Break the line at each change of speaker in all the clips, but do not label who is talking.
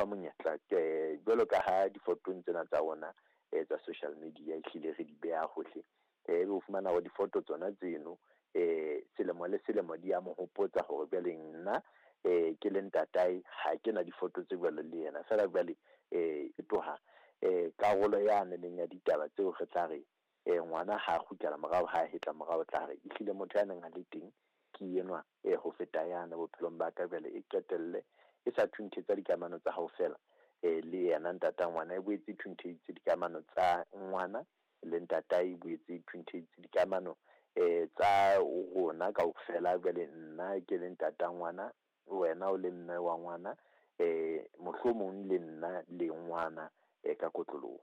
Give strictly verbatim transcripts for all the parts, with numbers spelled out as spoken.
fa monyetla ke jwalo ka ha difotong tsena tsa rona eh tsa social media ehlile re di beha hohle, eh ebe o fumana hore difoto tsona tseno eh selemo le selemo di a mo hopotsa hore jwale nna eh ke le ntatae ha ke na difoto tse jwalo le yena. Feela jwale eh e tloha eh karolo yane leng ya ditaba tseo re tla re eh ngwana ha kgutlela morao, ha hetla morao, tla re ehlile motho ya neng a le teng ke enwa eh ho feta yana bophelong ba ka. Jwale e qetelle e sa thunthetsa dikamano tsa hao feela eh le yena ntata ngwana, e boetse e thuntheditse dikamano tsa ngwana le ntatae, e boetse e thuntheditse dikamano eh tsa rona kaofela. Jwale nna ke le ntata ngwana, wena o le mme wa ngwana, eh mohlomong le nna le ngwana eh ka kotloloho.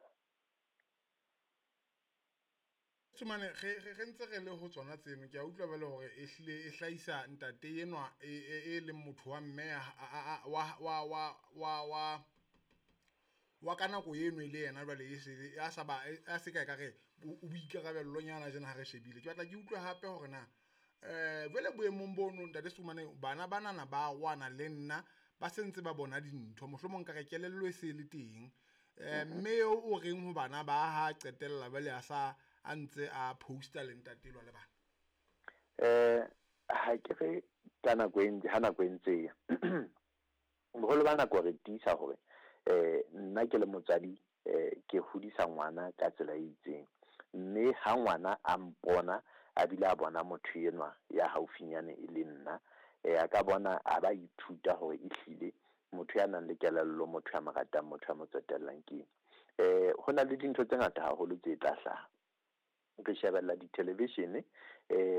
Sumane re re ntse re le ho tsona tseno, ke a utlwa jwale hore e hlile e hlahisa ntate enwa e e leng motho wa mme wa wa wa wa wa wa ka nako eno e le yena jwale e se a sa ba a se ka ekare o boikarabellonyana jena ha re shebile. Ke batla ke utlwe hape hore na eh jwale boemong bono ntate Sumane, bana banana ba rwana le nna ba sentse ba bona dintho, mohlomong ka re kelello e se le teng, eh mme eo o reng ho bana ba ha qetella jwale a sa a ntse a poster le ntate elwa le bana?
Eh ha ke re ka nako e ntse ha nako e ntse boholo ba nako re tiisa hore eh nna ke le motswadi eh ke hodisa ngwana ka tsela e itseng, mme ha ngwana a mpona a bile a bona motho enwa ya haufinyane e le nna, eh a ka bona a ba ithuta hore ehlile motho ya nang le kelello, motho ya mo ratang, motho ya mo tsotellang ke eng. Eh ho na le dintho tse ngata haholo tse tla hlaha. Re shebella di-television, eh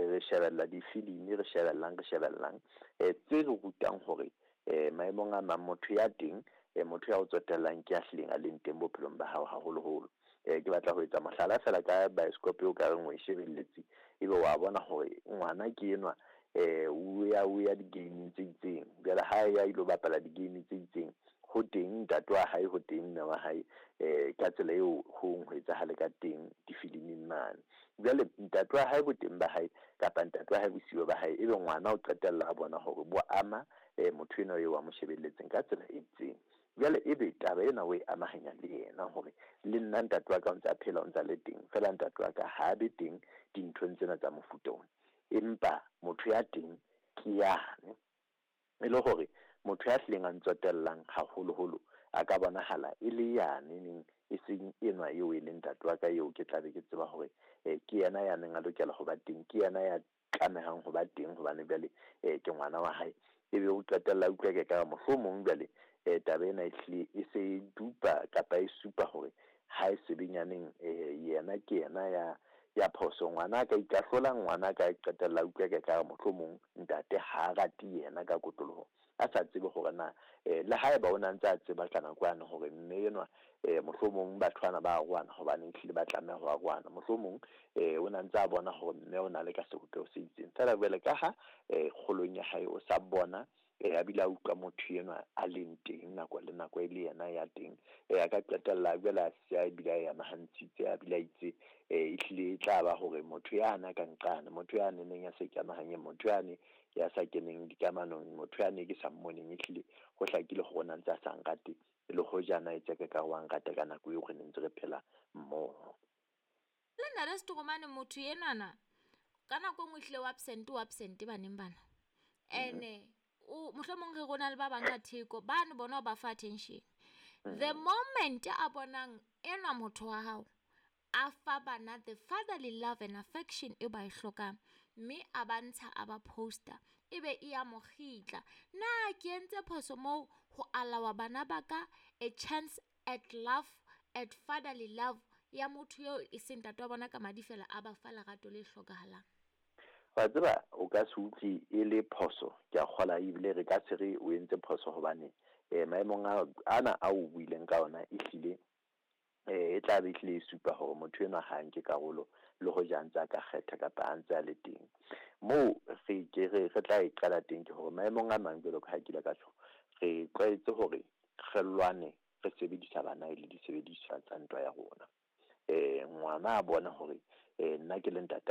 re shebella difilimi, re shebellang re shebellang eh tse re rutang hore eh maemong a mang motho ya teng, eh motho ya o tsotellang ke ya hlileng a leng teng bophelong ba hao haholoholo. Eh ke batla ho etsa mohlala feela ka bioscope eo ka reng o e shebelletse, ebe wa bona hore ngwana ke enwa eh o ya o ya di-game tse itseng, jwale ha ya ilo bapala di-game tse itseng, ho teng ntate wa hae, ho teng mme wa hae, eh ka tsela eo ho ho etsahale ka teng difiliming mane. Jwale ntate wa hae boteng ba hae kapa ntate wa hae bosiyo ba hae, ebe ngwana o qetella a bona hore bo ama eh motho enwa eo a mo shebelletseng ka tsela e itseng. Jwale ebe taba ena o e amahanya le yena hore le nna ntate wa ka o ntse a phela, o ntse a le teng, feela ntate wa ka ha be teng dinthong tsena tsa mofuta ona, empa motho ya teng ke yane. E le hore motho ya hlileng a ntsotellang haholoholo a ka bonahala e le yane neng, e seng enwa eo e leng ntate wa ka eo ke tla be ke tseba hore eh ke yena ya neng a lokela ho ba teng, ke yena ya tlamehang ho ba teng hobane jwale eh ke ngwana wa hae. Ebe o qetella utlwa ke ka mohlomong jwale eh taba ena e hlile e se e dupa kapa e supa hore ha e sebenyaneng eh yena ke yena ya ya phoso. Ngwana a ka ikahlola, ngwana a ka qetella utlwa ke ka mohlomong ntate ha rate yena ka kotloloho, a sa tsebe hore na eh le haeba o na ntse a tseba ka nako yane hore mme enwa eh mohlomong batho bana ba rwana hobane ehlile ba tlameha ho rwana, mohlomong eh o na ntse a bona hore mme o na le ka sebopeho se itseng, feela jwale ka ha eh kgolong ya hae o sa bona eh a bile a utlwa motho enwa a leng teng nako le nako e le yena ya teng, eh a ka qetella jwale a se a bile a amahantshitse, a bile a itse eh ehlile e tla ba hore motho yana ka nqane, motho ya neneng ya sa ikamahanyeng, motho yane ya sa keneng dikamanong, motho yane ke sa mmoneng, ehlile ho hlakile hore o na ntse a sa nrate le hojana e tseka ka wa nrate ka nako eo re ne ntse re phela mmoho.
Le nna le Setoromane motho enwana ka nako e nngwe ehlile o absent, o absent baneng bana. Ene o mohlomong re rona le ba bang ka theko, bano bona ba fa attention. The moment a bonang enwa motho wa hao a fa bana the fatherly love and affection e ba e hlokang, mme a ba ntsha a ba poster, ebe e ya mo kgitla. Na ke entse phoso moo ho alawa bana ba ka a chance at love, at fatherly love ya motho eo e seng ntate wa bona ka madi fela a ba fa lerato le hlokahalang?
Wa tseba o ka se utlwe e le phoso, ke a kgola ebile re ka se re o entse phoso hobane eh maemong ana a o buileng ka ona ehlile eh e tla be ehlile e supa hore motho enwa ha nke karolo le hoja a ntse a ka kgetha kapa a ntse a le teng. Moo re ke re re tla e qala teng ke hore maemong a mang jwalo ka ha ke ile ka tjho, re tlwaetse hore re lwane re sebedisa bana e le disebediswa tsa ntwa ya rona. Eh ngwana a bona hore eh nna ke le ntate